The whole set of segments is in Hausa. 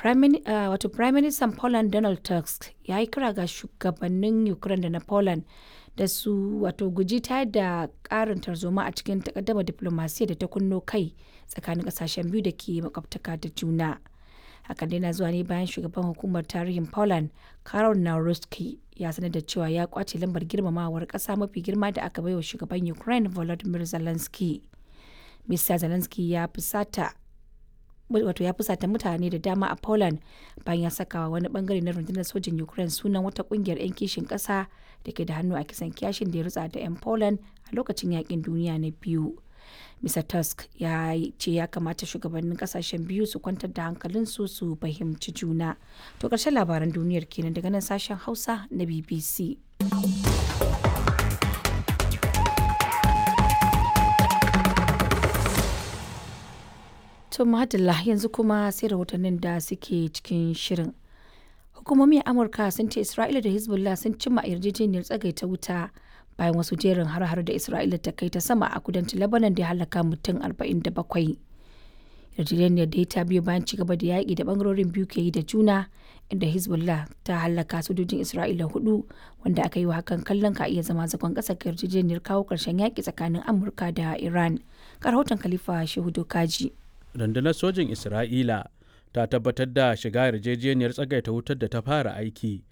Wato Prime Minister Poland Donald Tusk ya yi kira ga shugabannin Ukraine da na Poland da su wato guji tayar da karin tarzoma a cikin takaddamar diplomasiyya da ta kunno kai tsakanin kasashen biyu da ke makwabtaka da juna. Hakan dai na zuwa ne bayan shugaban hukumar tarihin Poland, Karol Nawrocki, ya sanar da cewa ya kwace lambar girmamawar kasa mafi girma da aka baiwa shugaban Ukraine Volodymyr Zelensky. Mr. Zelensky ya fusata wato ya fusata mutane da dama a Poland bayan ya sakawa wani bangare na rundunar sojin Ukraine sunan wata kungiyar 'yan kishin kasa da ke da hannu a kisan kiyashin da ya rutsa da 'yan Poland a lokacin yakin duniya na biyu. Mr. Tusk ya ce ya kamata shugabannin kasashen biyu su kwantar da hankalinsu su fahimci juna. To ƙarshen labaran duniyar kenan daga nan sashen Hausa na BBC. To Madalla, yanzu kuma sai rahotannin da suke cikin shirin. Hukumomi a Amurka sun ce Isra'ila da Hezbollah sun cimma yarjejeniyar tsagaita wuta bayan wasu jerin har-har da Isra'ila ta kai ta sama a kudancin Lebanon da ya halaka mutum 47. Yarjejeniyar da ta biyo bayan ci gaba da yaƙi da bangarorin biyu ke yi da juna, inda Hezbollah ta halaka sojojin Isra'ila hudu, wanda aka yi wa hakan kallon ka iya zama zagon ƙasa ga yarjejeniyar kawo ƙarshen yaƙi tsakanin Amurka da Iran. Ga rahoton Khalifa Shehu Dokaji. Rundunar sojin Isra'ila ta tabbatar da shiga yarjejeniyar tsagaita wutar da ta fara aiki,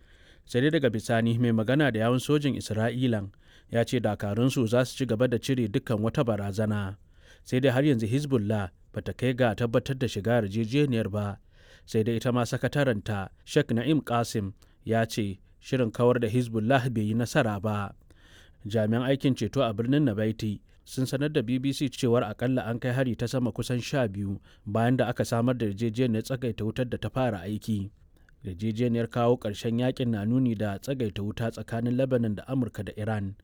sai dai daga bisani mai magana da yawun sojin Isra'ilan ya ce dakarunsu za su ci gaba da cire dukkan wata barazana. Sai dai har yanzu Hezbollah ba ta kai ga tabbatar da shiga yarjejeniyar ba. Sai dai ita ma sakataranta Sheikh Na'im Qasim ya ce shirin kawar da Hezbollah bai yi nasara ba. Jami'an aikin ceto a birnin Nabaiti sun sanar da BBC cewar akalla an kai hari ta sama kusan 12 bayan da aka samar da yarjejeniyar tsagaita wutar da ta fara aiki. Yarjejeniyar kawo ƙarshen yakin na nuni da tsagaita wuta tsakanin Lebanon da Amurka da Iran.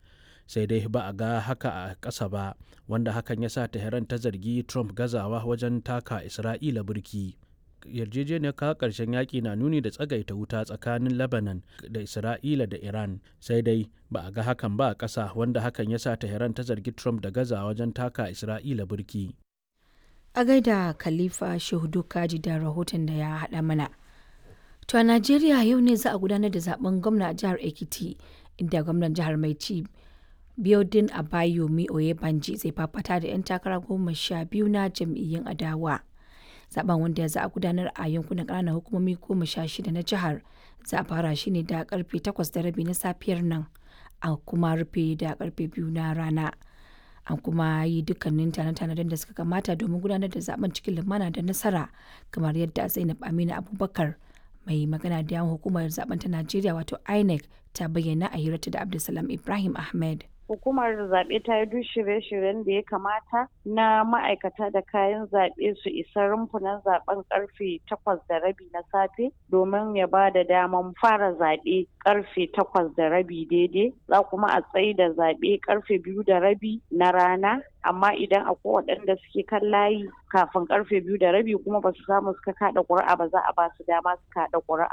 Sai dai ba a ga haka a ƙasa ba, wanda hakan ya sa Tehran ta zargi Trump gazawa wajen taka Isra'ila burki. Yarjejeniyar kawo ƙarshen yaƙi na nuni da tsagaita wuta tsakanin Lebanon da Isra'ila da Iran, sai dai ba a ga hakan ba a ƙasa, wanda hakan ya sa Tehran ta zargi Trump da gaza wajen taka Isra'ila burki. A gaida Khalifa Shehu Kaji da rahoton da ya haɗa mana. To a Najeriya, yau ne za a gudanar da zaben gwamna a jihar Ekiti, inda gwamnan jihar mai ci Biodun Abayomi Oyebanji zai fafata da 'yan takara 12 na jam'iyyun adawa. Zaben, wanda za a gudanar a yankunan ƙananan hukumomi 16 na jihar, za a fara shi ne da karfe 8:30 na safiyar nan a kuma rufe da karfe 2 na rana. An kuma yi dukkanin tane-tanen da suka kamata domin gudanar da zaben cikin lumana da nasara, kamar yadda Zainab Aminu Abubakar, mai magana da yawun hukumar zaben ta Najeriya wato INEC, ta bayyana a hirarta da Abdulsalam Ibrahim Ahmed. Hukumar zaɓe ta yi duk shirye-shiryen da ya kamata na ma'aikata da kayan zaɓe su isa rumfunan zaɓen karfe 8:30 na safe domin ya ba da daman fara zaɓe karfe 8:30 daidai. Za kuma a tsayi da zaɓe karfe 2:30 na rana, amma idan akwai waɗanda suke kan layi kafin karfe 2:30 kuma ba su samu suka kaɗa ƙuri'a ba, za a ba su dama su kaɗa ƙuri'a.